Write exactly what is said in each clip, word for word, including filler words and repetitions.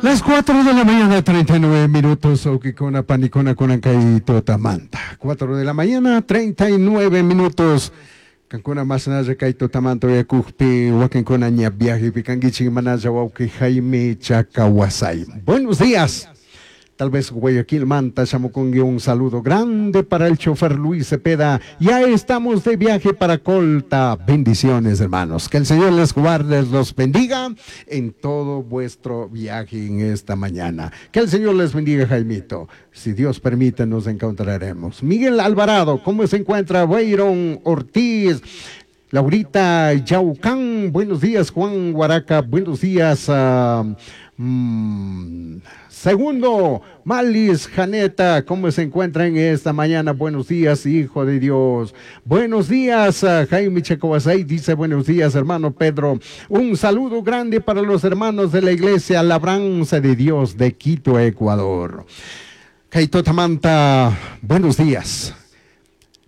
Las cuatro de la mañana, treinta y nueve minutos, wawkikuna, panikuna, kunan kay tutamanta. cuatro de la mañana, treinta y nueve minutos. Kankuna masnalla kay tutamanta uyakukpi, wakinkuna ña viajepi kankichik manalla wawki Jaime Chacawasay. Buenos días. Tal vez Guayaquil Manta shamukunki, un saludo grande para el chofer Luis Cepeda. Ya estamos de viaje para Colta. Bendiciones, hermanos. Que el Señor les guarde, los bendiga en todo vuestro viaje en esta mañana. Que el Señor les bendiga, Jaimito. Si Dios permite, nos encontraremos. Miguel Alvarado, ¿cómo se encuentra? Byron Ortiz. Laurita Yaucán, buenos días, Juan Guaraca, buenos días. Uh, mm, segundo, Malis Janeta, ¿cómo se encuentran esta mañana? Buenos días, hijo de Dios. Buenos días, uh, Jaime Checobasay dice: "Buenos días, hermano Pedro. Un saludo grande para los hermanos de la iglesia Labranza de Dios de Quito, Ecuador". Kay tutamanta, buenos días.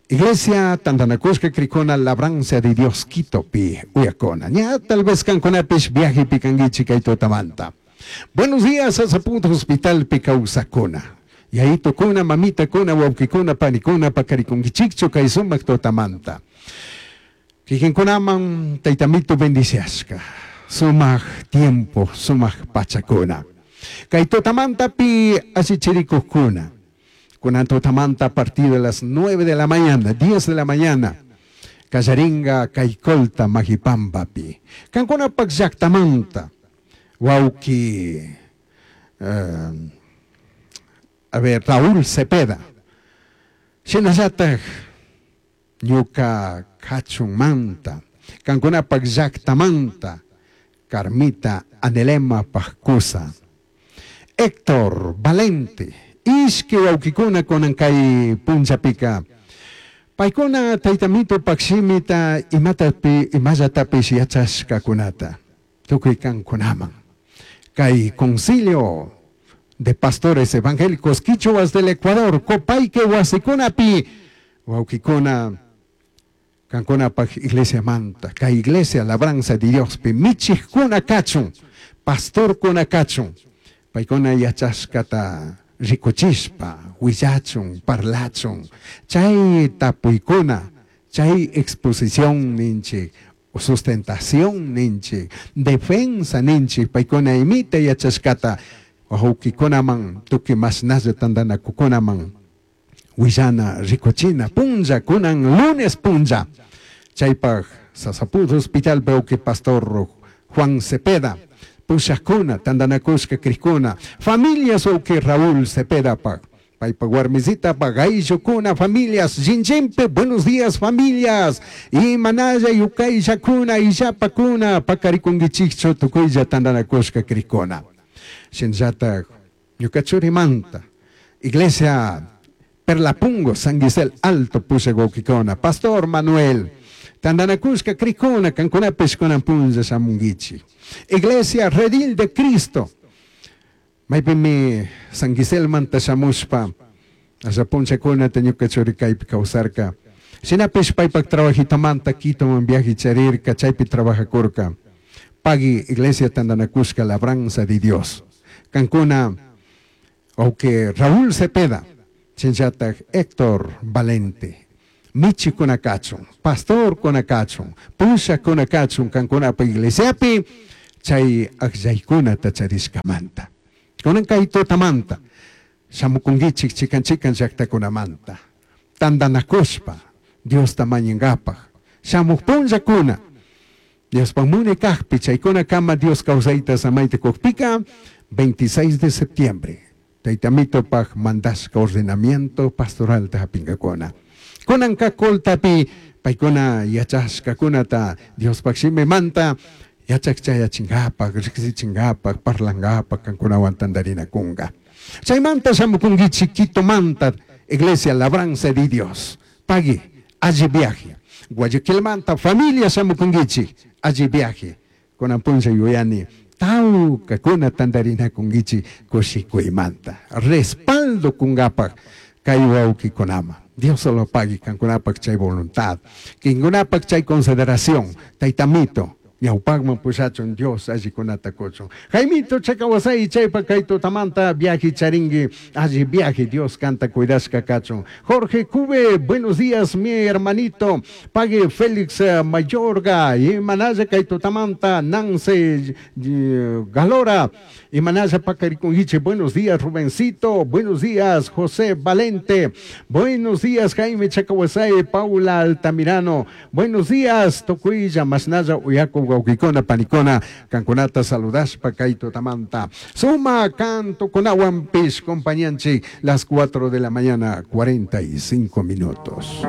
Iglesia Tantanakushka Krikuna Labranza de Dios Quito pi uyakuna. Ña tal vez kankunapish viaje kankichik kay tutamanta. Buenos días a Zaputo Hospital pi kawsakuna. Yayitukuna, mamitakuna, wawkikuna, panikuna, pakarikunkichikchu kay sumak tutamanta. Kikinkunaman taytamito bendiciashka. Sumak tiempo, sumak pachakuna. Kay tutamanta pi allichirikukuna. Kunan tutamanta a partir de las nueve de la mañana, diez de la mañana. Kallaringa kay Colta Majipambapi. Kankunapak llaktamanta. Wawki, uh, a ver, Raúl Cepeda. Shinallatak ñuka kachunmanta. Kankunapak llaktamanta. Carmita Anelema Pajcusa. Héctor Valente. Ishki wawkikuna kunan kay punllapika. Paykuna taytamito pakshimita imatapi imallatapish yachashkakunata. Tukuy kankunaman. Kay concilio de pastores evangélicos quichuas del Ecuador, Copaique wasikunapi, wawkikuna, kankunapaj iglesia manta, kay iglesia Labranza de Diospi, michijkuna kachun, pastorkuna kachun, paykuna yachashkata rikuchishpa, willachun, parlachun, chay tapuykuna, chay exposición ninchik, sustentación ninchik, defensa ninchik, paykuna imita yachashkata, wawkikunaman, tukuy mashnalla tantanakukunaman, willana rikuchina, punlla, kunan lunes punlla, chaypaj Sasaput Hospital wawki pastor Juan Cepeda, pushakuna, tantanakushka krikuna, familias wawki Raúl Cepeda pak, paypa warmisita pagayllukuna, familias, Jinjimpe, buenos días, familias, y manalla yukayllakuna, illapakuna, pakarikunkichikchu tukuylla tantanakushka krikuna. Shinllatak, ñuka churimanta, iglesia Perlapungo, San Gisel Alto, pushak wawkikuna, Pastor Manuel, tantanakushka krikuna, kankunapish kunan punlla shamunkichik. Iglesia Redil de Cristo, maypimi San Giselmanta shamushpa, asha punllakunata ñuka churi kaypi kawsarka. Shinapish paypak trabajitomanta Quitoman viaje charirka, chaypi trabajakurka. Pagui Iglesia Tantanakushka Labranza de Dios. Kankuna, wawki Raúl Cepeda, shinllatak Héctor Valente, Michi kunakachun, Pastor kunakachun, Pusha kunakachun, kankunapa iglesiapi, chay aklllaykunata charishkamanta. Kunan kay tutamanta, shamukunkichik chikan chikan llaktakunamanta, tantanakushpa, Diosta mañankapaj, shamuj punllakuna, Diospaj munay kajpi, chaykuna kama Dios kawsayta samayta kukpika, veintiséis de septiembre, Taytamitopaj mandashka ordenamiento pastoral hapinkakuna. Kunanka Coltapi, paykuna yachashkakunata, Diospaj shimimanta, yachak chayachinkapak, riksichinkapaj, parlankapak, kankunawan tantarinakunka. Chaymanta shamukunkichik Quitomanta, Iglesia Labranza de Dios. Pagui, alli viaje. Guayaquilmanta, familia shamukunkichik, alli viaje. Kunan punlla yuyani, tawkakuna tantarinakunkichik kushikuymanta. Respaldo kunkapak, kay wawkikunama. Dios solo pague kankunapak chay voluntad. Kankunapak chay consideración. Taytamito, Ñawpakman pushachun Dios allikunata kuchun. Jaimito Chacawasay chaypa kay tutamanta viaje charinki alli viaje Dios kanta cuidashka kachun. Jorge Cube, buenos días mi hermanito. Pague Félix eh, Mayorga, imanalla kay tutamanta Nancy eh, Galora, imanalla pakarikunkichik, buenos días Rubencito, buenos días José Valente, buenos días Jaime Chacawasay, Paula Altamirano, buenos días Tocuilla, Masnaya, Uyaco, Wawqikuna, Panikuna, Kankunata saludashpa kay tutamanta. Suma canto con Pish, compañanchik, las cuatro de la mañana, cuarenta y cinco minutos.